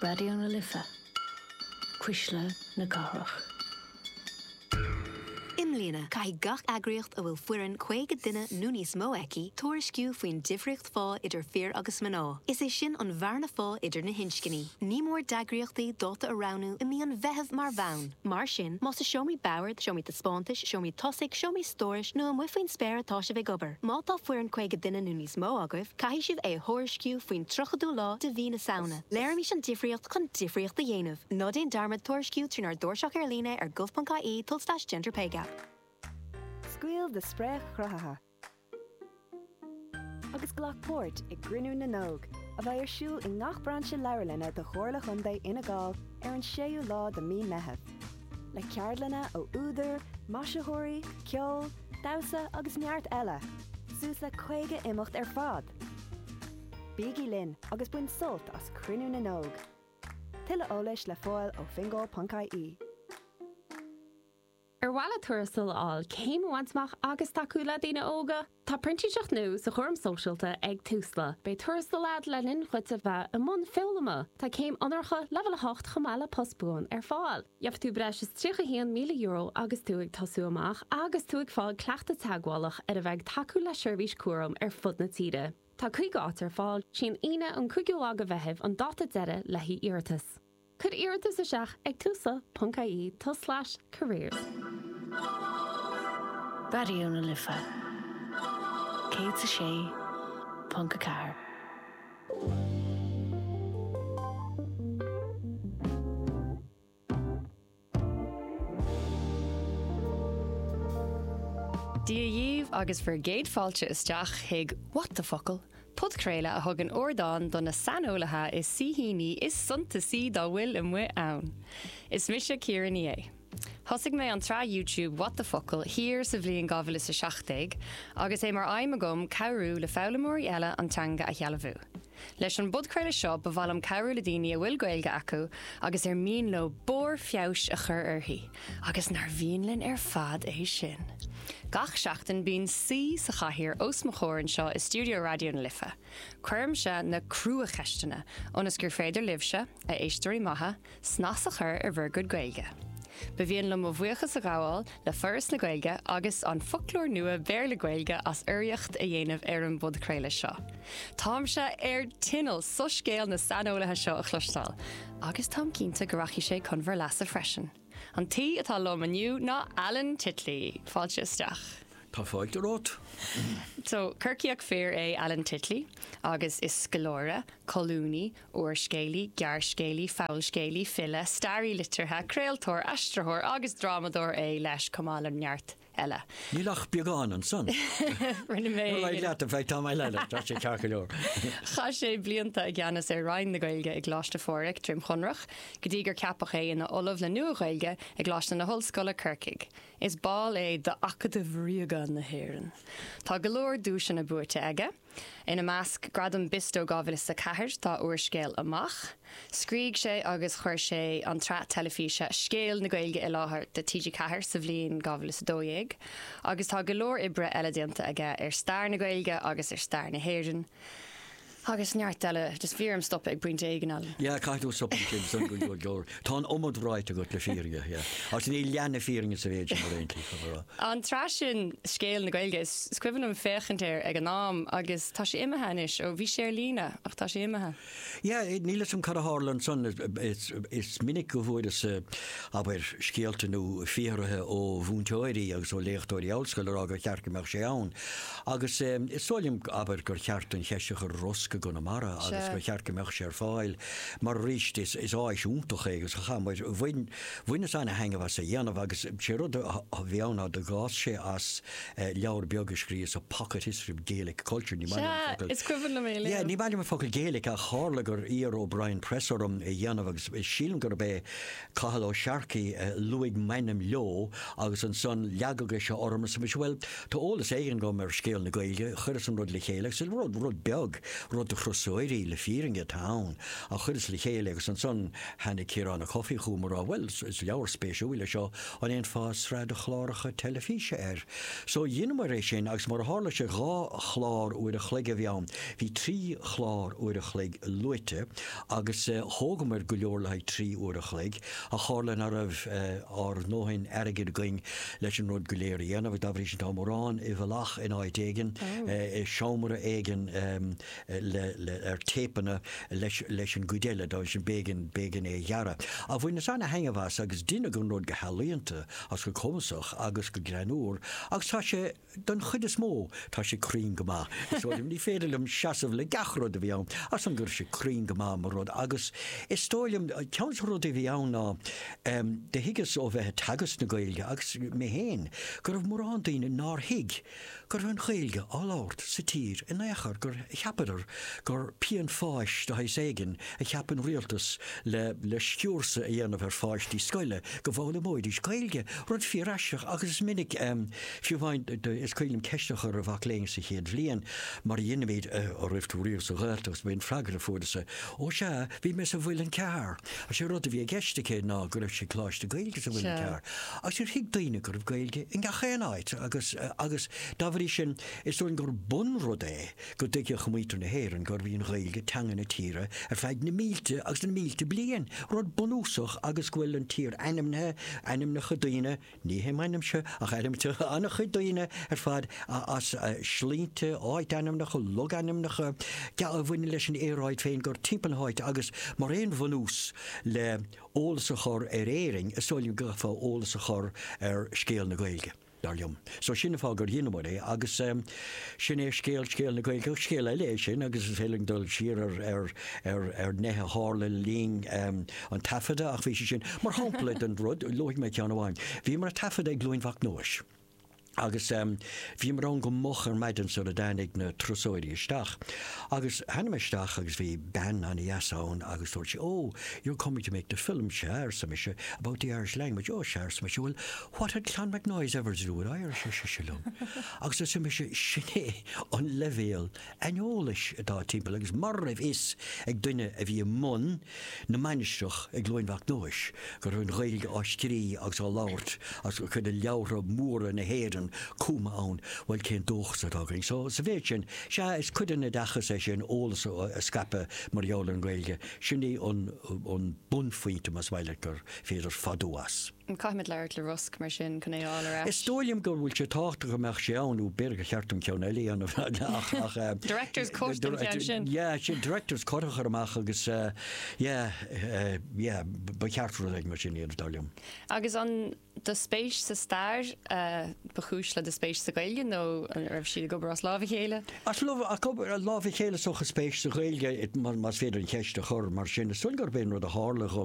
Raidió na Life, Cuisle na Cathrach. I mbliana, caithfidh gach eagraíocht a bhfuil foireann 50 duine nó níos mó aici tuairisciú faoin difríocht phá idir fir agus mná. Is é sin an bhearna phá idir na hinscní. Ní mór d'eagraíochtaí dáta a roghnú i mí an Mheithimh mar bhonn. Mar sin, más i seomraí boird, seomraí taispeántais, seomraí tosaigh, seomraí stórais nó amuigh faoin spéir atá sibh ag obair, má tá foireann 50 duine nó níos mó agaibh, caithfidh sibh é a thuairisciú faoin 30ú lá de mhí na Samhna. Léirímis an difríocht chun difríocht a dhéanamh. Ná déan dearmad tuairisciú trínár dtairseach ar líne ar gov.ie tulslais gender pay gap. Scaoil do spréach chruthaithe agus glac páirt i gCruinniú na nÓg, a bheidh ar siúl i ngach brainse leabharlainne de Chomhairle Chontae Fhine Gall ar an 6ú lá de mí Meitheamh. Le ceardlanna ó údair, maisitheoirí, ceol, damhsa agus neart eile, suas le 50 imeacht ar fad! Bígí linn agus bain sult as Cruinniú na nÓg! Tuilleadh eolais le fáil ó fingal.ie. Ar mhaith leat tuarastal a fháil, céim a bhaint amach agus tacú le daoine óga? Tá printíseacht nua sa chúram sóisialta ag Tusla. Beidh tuarastal agat le linn dhuit a bheith i mbun foghlama. Tá céim onóracha Leibhéal 8 chomh maith le post buan ar fáil. Gheobhaidh tú breis is €31,000 agus tú ag tosú amach agus tú ag fáil cleachtadh teagmhálach ar a bheith ag tacú le seirbhís cúraim ar fud na tíre. Tá 50 áit ar fáil. Sí an Aoine an 5ú lá de Mheitheamh an dáta deiridh le haghaidh iarratas. Cuir iarratas isteach ag tusla.ie tulslais careers. Raidió na Life 106.4. Dia dhaoibh agus bhur gcéad fáilte isteach chuig What the Focal, podchraoladh a thugann ardán do na saineolaithe is saoithíní is suntasaí dá bhfuil amuigh ann. Is mise Ciara Ní É. Thosaigh mé an tsraith YouTube What the Focal thiar sa bhliain 2017 agus é mar aidhm agam cabhrú le foghlaimeoirí eile an teanga a shealbhú. Leis an bpodchraoladh seo ba mhaith liom cabhrú le daoine a bhfuil Gaeilge acu agus ar mian leo barr feabhais a chur uirthi, agus nár mhian linn ar fad é sin? Gach seachtain bíonn saoi sa chathaoir os mo chomhair anseo i stiúideo Raidió na Life. Cuirimse na cruacheisteanna ionas gur féidir libhse, a éisteoirí maithe, snas a chur ar bhur gcuid Gaeilge. Ba mhian liom mo bhuíochas a ghabháil le Foras na Gaeilge agus an Foclóir Nua Béarla-Gaeilge as urraíocht a dhéanamh ar an bpodchraoladh seo. Táimse ar tinneall soiscéal na saineolaithe seo a chloisteáil, agus táim cinnte go rachaidh sé chun bhur leasa freisin. An t-aoi atá liom inniu ná Alan Titley! Fáilte isteach. Tá fáilte romhat. So, Corcaíoch fir é Alan Titley agus is scoláire, colúnaí, úrscéalaí, gearrscéalaí, fabhalscéalaí, file, staraí liteartha, craoltóir, aistritheoir agus drámadóir é leis chomh maith le neart eile. Níl ach beagán ansan. Rinne mé. Ar aghaidh leat, in fact, tá mé leat, tá sé ceart go leor. Chaith sé blianta i gceannas ar Roinn na Gaeilge i gColáiste Phádraig, Droim Chonrach, go dtí gur ceapadh é ina Ollamh le Nua-Ghaeilge i gColáiste na hOllscoile, Corcaigh. Is ball é d'Acadamh Ríoga na hÉireann. Tá go leor duaiseanna buaite aige. Ina measc, Gradam Bisto 2004 dá úrscéal Amach. Scrígh sé agus chuir sé an tsraith teilifíse Scéal na Gaeilge i láthair do TG4 sa bhliain 2012 agus tá go leor oibre eile déanta aige ar stair na Gaeilge agus ar stair na hÉireann. Agus neart eile, just bhí orm stopadh ag pointe éigin, Alan. Yeah, caithfidh tú stopadh ansin, go go leor. Tá an iomad ráite agat le fírinne, yeah. Agus níl leath na fírinne sa mhéid sin ar aon tslí, chun a rá. An tsraith sin, Scéal na Gaeilge, is is cuimhin liom féachaint air ag an am agus tá sé imithe anois, ó bhí sé ar líne ach tá sé imithe. Yeah, níl 'fhios a'm cad a tharla ansan, is is minic go bhfuaireas, abair, scéalta nó fiafraithe ó mhúinteoirí agus ó léachtóirí ollscoile a rá gur cheart go mbeadh sé ann. Agus is dóigh liom, abair, gur cheart an cheist a chur ar rosc i gConamara agus gur cheart go mbeadh sé ar fáil mar arís is is áis iontach é agus chaith muid, bhain, bhaineas ana-thaitneamh as a dhéanamh agus sé rud a bhí ann ná d'fhás sé as leabhar beag a scríos, A Pocket History of Gaelic Culture, ní maith liom an focal. Sea, is cuimhin liom é a léamh. Yeah, ní maith liom an focal Gaelic ach tharla gur iarr O'Brien Press orm é a dhéanamh agus sílim gurb é Cathal Ó Searcaigh a luaigh m'ainm leo agus ansan leagadh é seo orm arsa mise, bhuel, tá eolas éigin agam ar scéal na Gaeilge, chuireas an rud le chéile agus rud, rud beag, rud. rud do thurasóirí le fírinne atá ann ach chuireas le chéile agus ansan tháinig Ciarán Ó Cofaigh chugam ag rá bhuel is leabhar spéisiúil é seo, an ndéanfá sraith de chláracha teilifíse air? So dheineamar é sin agus mar a tharla sé dhá chlár uair a chloig a bhí ann, bhí trí chlár uair a chloig luaite agus thógamar go leor le haghaidh 3 uair a chloig ach tharla nach raibh ár ndóthain airgid againn leis an rud go léir a dhéanamh agus dá bhrí sin tá mórán i bhfolach in áit éigin, i seomra éigin le, le, ar téipeanna leis, leis an gcuid eile, dá bhrí sin b'éigean, b'éigean é a ghearradh. Ach bhaineas ana-thaitneamh as agus deineadh an rud go healaíonta agus go cumasach agus go greannmhar agus tá sé, Don chuid is mó, tá sé cruinn go maith. Is dóigh liom, ní féidir liom seasamh le gach rud a bhí ann, ach san go raibh sé cruinn go maith mar rud agus is dóigh liom, ceann de na rudaí a bhí ann ná, do thuigeas ó bheith ag teagasc na Gaeilge agus mé féin, go raibh mórán daoine nár thuig go raibh an Ghaeilge á labhairt sa tír in aon chor, gur cheapadar gur pian fáis de shaghas éigin a cheap an rialtas le le sciúrsa a dhéanamh ar pháistí scoile go bhfoghlaimeoidís Gaeilge, rud fíor-aisteach agus is minic. Fiú amháin, is cuimhin liom ceist a chur ar mhac léinn sa chéad bhliain, mar a dheinimid, an raibh tú riamh sa Ghaeltacht, agus ba é an freagra a fuaireas-sa, Ó sea, bhí mé sa Mhuileann Cearr. Agus sé rud a bhí i gceist aici ná go raibh sí ag coláiste Gaeilge sa Mhuileann Cearr. Agus níor thuig daoine go raibh Gaeilge i ngach aon áit agus, agus dá bhrí sin, is dóigh liom gur bunrud é go dtuigfeadh muintir na hÉireann gurbh í an Ghaeilge teanga na tíre ar feadh na mílte agus na mílte bliain, rud bunúsach agus go bhfuil an tír ainmnithe, ainmneacha daoine, Ní hé m'ainmse ach ainmneacha an-chuid daoine ar fad as sloinnte, áit-ainmneacha, logainmneacha, a bhaineann leis an aeráid féin gur timpeall na háite agus mar aon bhunús le eolas a chur ar Éirinn, is dóigh liom go gcaithfeá eolas a chur ar scéal na Gaeilge, dar liom. So sin an fáth gur dheineamar é agus sin é scéal scéal na Gaeilge. Ach scéal eile é sin agus is féidir linn dul siar ar ar ar ar nithe a tharla le linn an taifeadta ach bhí sé sin mar shampla den rud, luafaidh mé ceann amháin. Bhíomar ag taifeadadh i gCluain Mhac Nóis agus bhíomar ann go moch ar maidin sula dtáinig na turasóirí isteach. Agus tháinig mé isteach agus bhí bean an-dheas ann agus dúirt sí, Oh, you're coming to make the film, sea, arsa mise, about the Irish language, oh, sea, arsa mise, well, what had Clonmacnoise ever to do with Irish, ar sise liom. Agus arsa mise, sin é an leibhéal aineolais atá timpeall agus mura raibh fhios ag duine a bhí i mbun na mainistreach i gCluain Mhac Nóis go raibh an Ghaeilge á scrí agus á labhairt agus cuid de leabhartha móra na hÉireann cumtha ann, bhuel cén dóchas atá againn? So sa mhéid sin, sea, is cuid den oideachas é sin, eolas a scaipeadh mar gheall ar an Ghaeilge. Sin é an bunphointe más maith leat gur féidir fadú as. Caithfimid labhairt le Rosg mar sin chun é a fháil ar ais. Is dóigh liom go bhfuil sé tábhachtach go mbeadh sé ann, nó b'fhéidir gur cheart dom ceann eile a dhéanamh ach ach. Director's cut den cheann sin. Yeah, sin director's cut a chur amach agus yeah, yeah, ba cheart rud éigin mar sin a dhéanamh, dar liom. Agus an do spéis sa stair ba chúis le do spéis sa Ghaeilge nó an raibh siad ag obair as lámh a chéile? As lámh a chéile is dócha spéis sa Ghaeilge, más féidir an cheist a chur mar sin. Is dóigh liom gurb é an rud a tharla dhom.